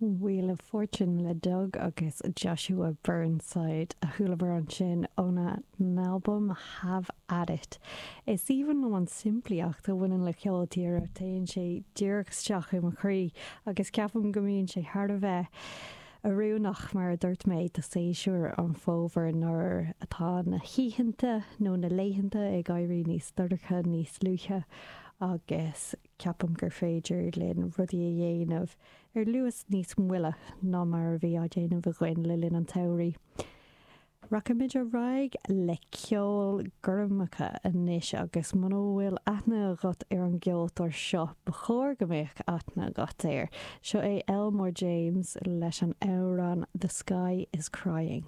Wheel of Fortune le Doug agus Joshua Burnside a chualamar ansin óna n-albam Have At It. Is aoibhinn liom an simplíocht a bhaineann le ceol tíre, téann sé díreach isteach i mo chroí agus ceapaim go mbíonn sé thar a bheith oiriúnach, mar a dúirt mé, do séasúr an fhómhair nuair atá na hoícheanta nó na laethanta ag éirí níos dorcha níos luaithe agus ceapaim gur féidir linn rudaí a dhéanamh ar luas níos moille ná mar a bhí á déanamh againn le linn an tsamhraidh. Rachaimid ar aghaidh le ceol gormacha anois agus muna bhfuil aithne agat ar an gceoltóir seo, ba chóir go mbeadh aithne agat air. Seo é Elmore James leis an amhrán 'The Sky Is Crying'.